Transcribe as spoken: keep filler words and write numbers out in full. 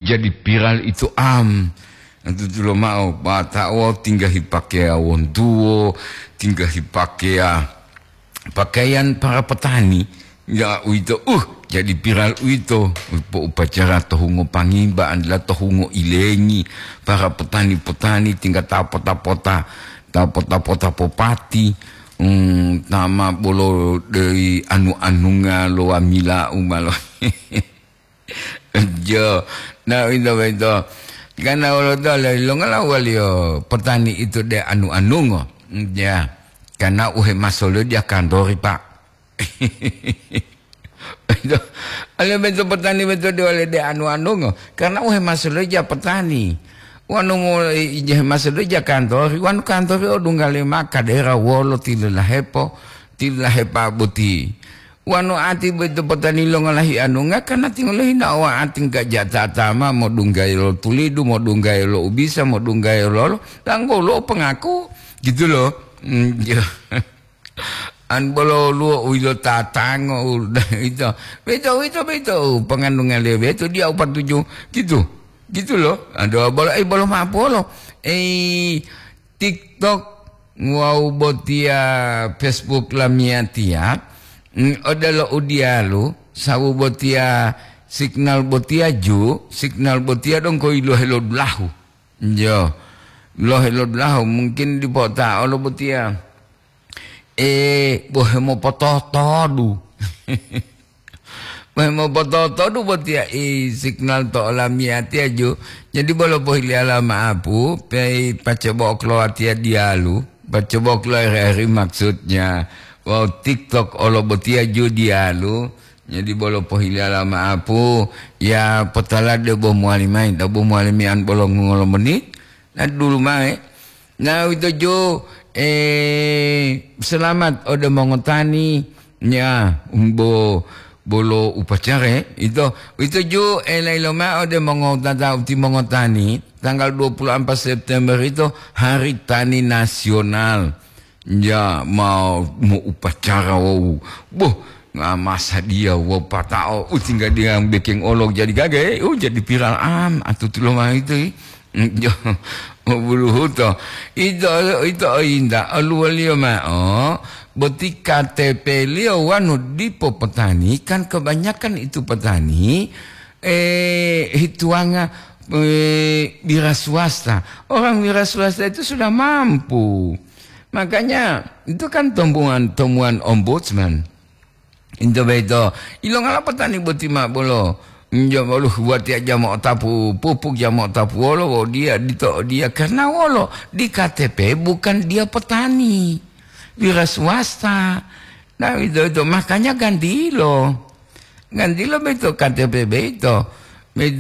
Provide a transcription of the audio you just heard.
Jadi viral itu am. Tutulo ma'o, bata'o tingga hipakeya wontuwo, tingga hipakeya pakaian para petani. Ya uwito, uh, jadi viral uwito. Po upacara to hungo pangimba, andila to hungo ilengi, para petani-petani tingga ta pota-pota, ta pota-pota popati, hmm, tama bolo dei anu-anunga lo wamila umalo. Jo, na uwito boyito. Karena wolo to lelongala waliyo petani itu de anu-anungo. Ya, karena uhe masolo dia kantori, Pak. Itu, ale beto petani beto de wale de anu-anungo. Karena uhe masolo dia petani. Wanu mo ije masolo dia kantori, wanu kantori o dunggale maka daerah wolo tilulahepo, tilulahepa boti. Wanu ati boyito potani lo ngolahi anunga, karena tingolo hina owa ati ngga jatata ma modunggayi lo tulidu, modunggayi lo ubisa, modunggayi lolo, tanggolo pengaku, gitu loh. Hmm, jo. An bolo luo uwilo tatango, u-, itu. Beto, beto, beto, pengandungan dia beto, dia upatuju, gitu. Gitu loh. Aduh, bolo, eh, bolo maaf, bolo. Eh, TikTok wawu botiya Facebook lamiyatiya, mm, odelo u diyalu, sawu botiya signal botiya ju, signal botiya donggo yilohe lo dulahu. Jo, lohe lo dulahu mungkin dipo ta'o lo botiya. Eh, bohe mopototodu. Bohe mopototodu botiya i signal to olamiyatiya ju. Jadi bolo pohiliyala ma'apu, pei pacobo kloatiya diyalu. Pacobo kloeri maksudnya. Wawu TikTok olo botiya ju diyalu. Jadi bolo pohiliyala ma'apu, ya potala de bo mowali mayi, ta bo mowali miyan bolo ngolo menit. Na dulu mae. Na uwito jo, eh, selamat ode mongotani, ya, bo-, bolo upacara, ito, uwito jo, eh, lailo mao ode mongotata uti mongotani, tanggal dua puluh empat September itu Hari Tani Nasional. Ya, mau, mau upacara, wow. Boh, ngamasa dia, wow, patao, utingga dia bekeng olok jadi gaga, eh, oh, jadi viral am, atutulo mao itu, eh. Jo, buluhuto. Ito, ito inda, oluwoliyo mao, boti K T P-liyo wanu dipo petani, kan kebanyakan itu petani, eh, hituwanga, eh, wira swasta. Orang wira swasta itu sudah mampu. Makanya, itu kan temuan, temuan ombudsman. Into boyito, ilongala petani boti ma bolo? Njo bolo watiya jamo otapu pupuk, jamo otapu wolo, wo dia dito dia. Karena wolo? Di K T P bukan dia petani. Wira swasta. Nah, itu, itu. Makanya gantilo. Gantilo boyito K T P boyito.